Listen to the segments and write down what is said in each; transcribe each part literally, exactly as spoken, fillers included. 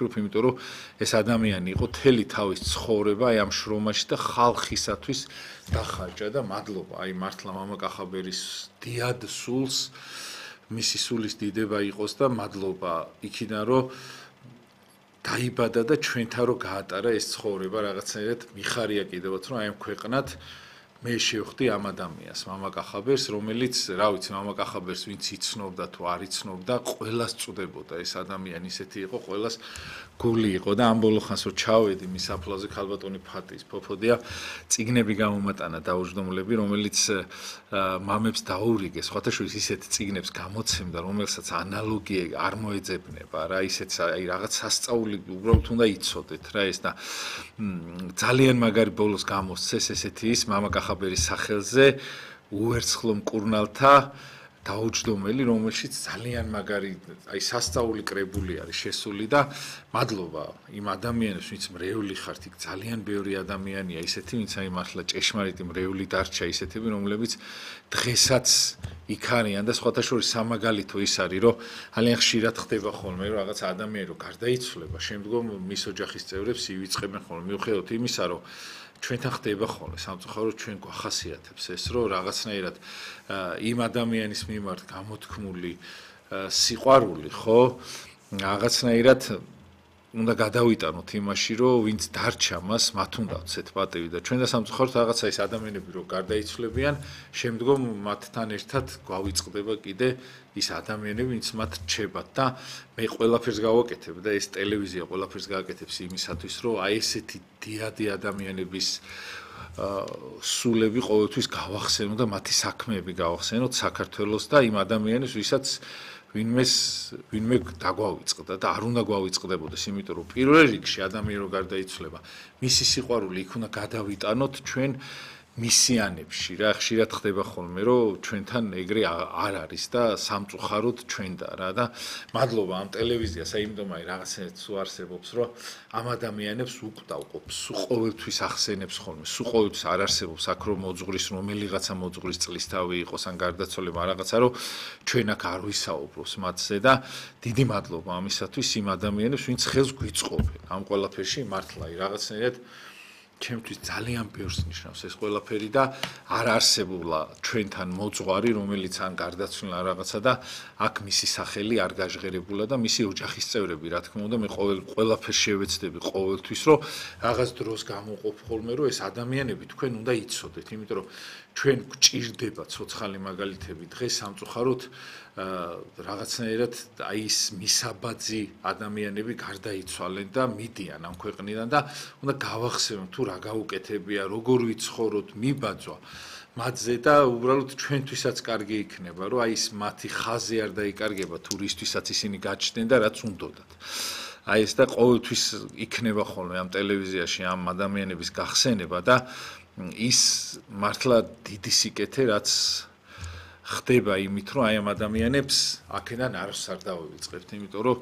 ვფიქრობ, იმიტომ რომ ეს ადამიანი იყო თელი თავის ცხოვრება აი ამ შრომაში და ხალხისათვის დახარჯა და მადლობა აი მართლა მამა კახაბერის დიად სულს მისი სულის დიდება იყოს და მადლობა იქიდან რომ დაიბადა და ჩვენთან რო გაატარა ეს ცხოვრება რაღაცნაირად მიხარია კიდევაც რომ აი ამ ქვეყნად მე შევხვდი ამ ადამიანს, მამა კახაბერს, რომელიც, რა ვიცი, მამა კახაბერს ვინც იცნობდა თუ არ იცნობდა, ყველას წუდებოდა ეს ადამიანი ისეთი იყო, ყველას გული იყო და ამ ბოლო ხანს რო ჩავედი მის საფლავზე ქალბატონი ფატის ფოფოდია, წიგნები გამომატანა დაუჯდომლები, რომელიც მამებს დაურიგეს, სხვათა შორის ისეთ წიგნებს გამოცემდა, რომელსაც ანალოგია არ მოეძებნება, რა ისეთ აი რაღაც სასწაული უბრალოდ უნდა იცოდეთ რა ეს და ძალიან მაგარი ბოლოს გამოსცეს ესეთი ის მამა კახაბერის სახელზე უერცხლო მკურნალთა დაუჯდომელი, რომელშიც ძალიან მაგარი აი სასწაული კრებული არის შესული და მადლობა იმ ადამიანებს, ვინც მრევლი ხართ, იქ ძალიან ბევრი ადამიანია ისეთი, ვინც აი მართლა ჭეშმარიტი მრევლი დარჩა ისეთები, რომლებიც დღესაც იქ არიან და სხვათა შორის სამაგალითო ის არის, რომ ძალიან ხშირად ხდება ხოლმე, რომ რაღაც ადამიანი რო გარდაიცვლება, შემდგომ მის ოჯახის წევრებს ივიწყებენ ხოლმე, მიუხედავად იმისა, რომ ჩვენთან ხდება ხოლმე სამწუხაროდ ჩვენ გვახასიათებს ეს რომ რაღაცნაირად იმ ადამიანის მიმართ გამოთქმული სიყვარული ხო რაღაცნაირად უნდა გადავიტანოთ იმაში რომ ვინც დარჩა მას მათ უნდა ვცეთ პატივი და ჩვენ და სამწუხაროდ რაღაცა ის ადამიანები რო გარდაიცვლებიან შემდგომ მათთან ერთად გვავიწყდება კიდე ის ადამიანები ვინც მათ რჩებათ და მე ყველაფერს გავაკეთებ და ეს ტელევიზია ყველაფერს გააკეთებს იმისათვის რომ აი ესეთი დიადი ადამიანების სულები ყოველთვის გავახსენო და მათი საქმეები გავახსენოთ საქართველოს და იმ ადამიანებს ვისაც ვინმეს ვინმე დაგვავიწყდა და არ უნდა გვავიწყდებოდეს, იმიტომ რომ პირველ რიგში ადამიანი რო გარდაიცვლება, მისი სიყვარული იქ უნდა გადავიტანოთ ჩვენ მისიანებში რა ხშირად ხდება ხოლმე რომ ჩვენთან ეგრე არ არის და სამწუხაროდ ჩვენდა რა და მადლობა ამ ტელევიზიას აიმდომ აი რაღაცნაირად სულ არსებობს რომ ამ ადამიანებს უკვდავყოფს სულ ყოველთვის ახსენებს ხოლმე სულ ყოველთვის არ არსებობს აქ რომ მოძღვრის რომელიღაცა მოძღვრის წლისთავი იყოს ან გარდაცვალება რაღაცა რომ ჩვენ აქ არ ვისაუბროს მათზე და დიდი მადლობა ამისათვის იმ ადამიანებს ვინც ხელს გვიწყობენ ამ ყველაფერში მართლა აი რაღაცნაირად ჩემთვის ძალიან ბევრს ნიშნავს ეს ყველაფერი და არ არსებულა ჩვენთან მოძღვარი, რომელიც ან გარდაცვლილა რაღაცა და აქ მისი სახელი არ გაჟღერებულა და მისი ოჯახის წევრები, რა თქმა უნდა, მე ყოველ ყველაფერს შევეცდები ყოველთვის, რომ რაღაც დროს გამოვყოფ ხოლმე, რომ ეს ადამიანები თქვენ უნდა იცოდეთ, იმიტომ რომ ჩვენ გვჭირდება ცოცხალი მაგალითები დღეს სამწუხაროდ რაღაცნაირად აი ეს მისაბაძი ადამიანები გარდაიცვალენ და მიდიან ამ ქვეყნიდან და უნდა გავახსენოთ თუ რა გაუკეთებია, როგორ ვიცხოვროთ, მიბაძვა მათზე და უბრალოდ ჩვენთვისაც კარგი იქნება, რომ აი ეს მათი ხაზი არ დაიკარგება თუ რისთვისაც ისინი გაჩნდნენ და რაც უნდოდათ. აი ეს და ყოველთვის იქნება ხოლმე ამ ტელევიზიაში ამ ადამიანების გახსენება და ის მართლა დიდი სიკეთე რაც ხდება იმით რომ აი ამ ადამიანებს აქედან არს არ დავივიწყებთ, იმიტომ რომ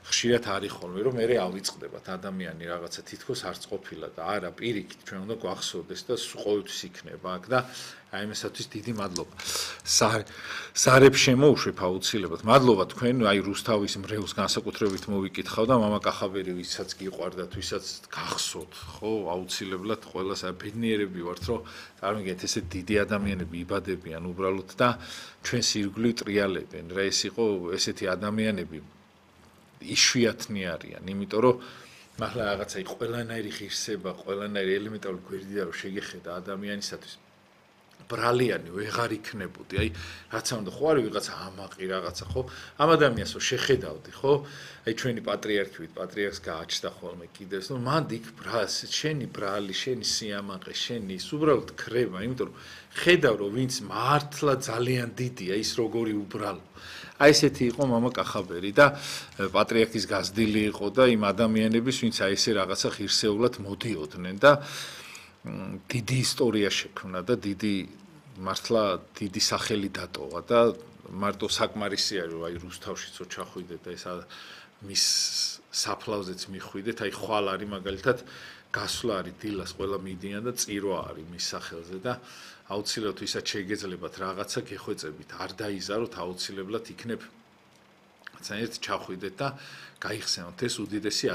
ხშირად არის ხოლმე რომ მე ავიწყდებათ ადამიანი რაღაცა თითქოს არც ყოფილა და არა პირიქით ჩვენ უნდა გვახსოვდეს და ყოველთვის იქნება აქ და აი ამისათვის დიდი მადლობა. სარებს შემოუშვებ აუცილებლად. მადლობა თქვენ აი რუსთავის მრევლს განსაკუთრებით მოვიკითხავ და მამა კახაბერი ვისაც გიყვარდათ, ვისაც გახსოვთ, ხო, აუცილებლად ყველას ბედნიერები ვართ, რომ წარმოგიდგენთ ესე დიდი ადამიანები იბადებიან უბრალოდ და ჩვენს ირგვლივ ტრიალებენ. რა ეს იყო ესეთი ადამიანები იშვიათნი არიან, იმიტომ რომ მართლა რაღაცა ყველანაირი ღირსება, ყველანაირი ელემენტარული გვერდია რომ შეგეხედა ადამიანისათვის ბრალიანი ვეღარ იქნებოდი. აი რაც ამდა ხო არის ვიღაცა ამაყი რაღაცა ხო? ამ ადამიანს რო შეხედავდი, ხო? აი ჩვენი პატრიარქი ვით, პატრიარქს გააჩნდა ხოლმე კიდევს, ნუ მანდ იქ ბრალს, შენი ბრალი, შენი სიამაყე, შენი ის უბრალოდ ქრება, იმიტომ რომ ხედავ რომ ვინც მართლა ძალიან დიდია, ის როგორი უბრალო. აი ესეთი იყო მამა კახაბერი და პატრიარქის გაზრდილი იყო და იმ ადამიანების ვინც აი ესე რაღაცა ღირსეულად მოდიოდნენ და დიდი ისტორია შექმნა და დიდი მართლა დიდი სახელი დატოვა და მარტო საკმარისი არის რომ აი რუსთავშიც ჩახვიდეთ და ეს მის საფლავზეც მიხვიდეთ აი ხვალ არის მაგალითად გასვლა არის დილას ყველა მიდიან და წირვა არის მის სახელზე და აუცილებლად ვისაც შეგეძლებათ რაღაცა გეხვეწებით არ დაიზაროთ აუცილებლად იქნებ ძალიან ჩახვიდეთ და გაიხსენოთ ეს უდიდესი